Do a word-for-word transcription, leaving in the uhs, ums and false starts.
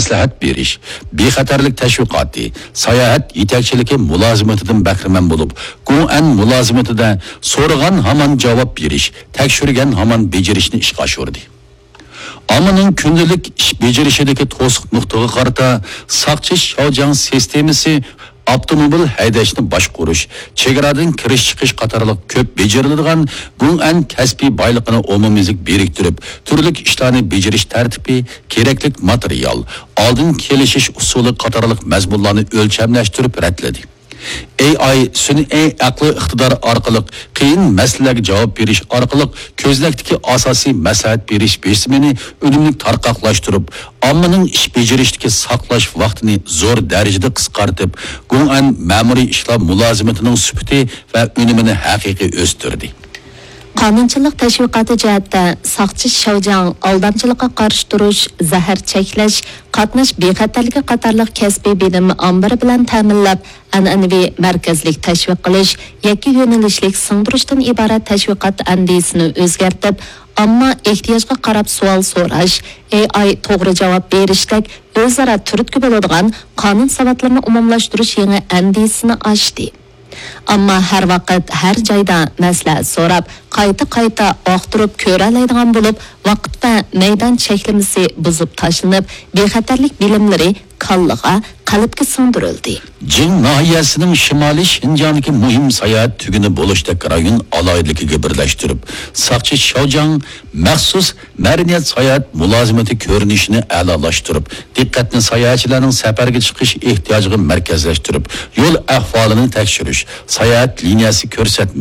مەسلىھەت بېرىش، بىخەتەرلىك تەشۋىقاتى، ساياھەت يېتەكچىلىكى مۇلازىمىتىدىن بەھرىمەن بولۇپ، گۇڭئەن مۇلازىمىتىدە سورىغان ھامان جاۋاب بېرىش، تەكشۈرگەن ھامان بېجىرىشنى ئىشقا ئاشۇردى. ئاممىنىڭ كۈندىلىك ئىش بېجىرىشىدىكى توسۇق نۇقتىغا قارىتا ساقچى شياۋجياڭ سىستېمىسى ئاپتوموبىل ھەيدەشنى باشقۇرۇش، چېگرادىن كىرىش-چىقىش قاتارلىق كۆپ بېجىرىلىدىغان گۇڭئەن كەسپىي بايلىقىنى ئومۇميۈزلۈك بىرىكتۈرۈپ، تۈرلۈك ئىشلارنى بېجىرىش تەرتىپى، كېرەكلىك ماتېرىيال، ئالدىن كېلىشىش ئۇسۇلى قاتارلىق مەزمۇنلارنى ئۆلچەملەشتۈرۈپ رەتلىدى. ئېي ئاي سۈنئىي ئەقلىي ئىقتىدار ئارقىلىق قىيىن مەسىلىلەرگە جاۋاب بېرىش ئارقىلىق كۆزنەكتىكى ئاساسىي مەسلىھەت بېرىش بېسىمىنى ئۈنۈملۈك تارقاقلاشتۇرۇپ، ئاممىنىڭ ئىش بېجىرىشتىكى ساقلاش ۋاقتىنى زور دەرىجىدە قىسقارتىپ، گۇڭئەن مەمۇرىي ئىشلار مۇلازىمىتىنىڭ سۈپىتى ۋە ئۈنۈمىنى ھەقىقىي ئۆستۈردى. قانۇنچىلىق تەشۋىقاتى جەھەتتە ساقچى شياۋجياڭ ئالدامچىلىققا قارشى تۇرۇش، زەھەر چەكلەش، قاتناش بىخەتەرلىكى قاتارلىق كەسپىي بىلىم ئامبىرى بىلەن تەمىنلەپ، ئەنئەنىۋى مەركەزلىك تەشۋىق قىلىش، يەككە يۆنىلىشلىك سىڭدۈرۈشتىن ئىبارەت تەشۋىقات ئەندىزىسىنى ئۆزگەرتىپ، ئامما ئېھتىياجغا قاراپ سوئال سوراش، ئېي ئاي توغرا جاۋاب بېرىشتەك ئۆزئارا تۈرتكە بولىدىغان قانۇن ساۋاتلىرىنى ئومۇملاشتۇرۇش يېڭى ئەندىزىسىنى ئاچتى. ئامما ھەر ۋاقىت، ھەر جايدا مەسلىھەت سوراپ، قايتا-قايتا ئاختۇرۇپ كۆرەلەيدىغان بولۇپ، ۋاقىت ۋە مەيدان چەكلىمىسى بۇزۇپ تاشلىنىپ، بىخەتەرلىك بىلىملىرى كاللىغا، قەلبكە سىڭدۈرۈلدى. جىڭ ناھىيەسىنىڭ شىمالىي شىنجاڭدىكى مۇھىم ساياھەت تۈگۈنى بولۇشتەك رايون ئالاھىدىلىكىگە بىرلەشتۈرۈپ، ساقچى شياۋجياڭ مەخسۇس مەدەنىيەت ساياھەت مۇلازىمىتى كۆرۈنۈشىنى ئەلالاشتۇرۇپ، دىققەتنى ساياھەتچىلەرنىڭ سەپەرگە چىقىش ئېھتىياجىغا مەركەزلەشتۈرۈپ، يول ئەھۋالىنى تەكشۈرۈش، ساياھەت لىنىيەسى كۆرسەتمە،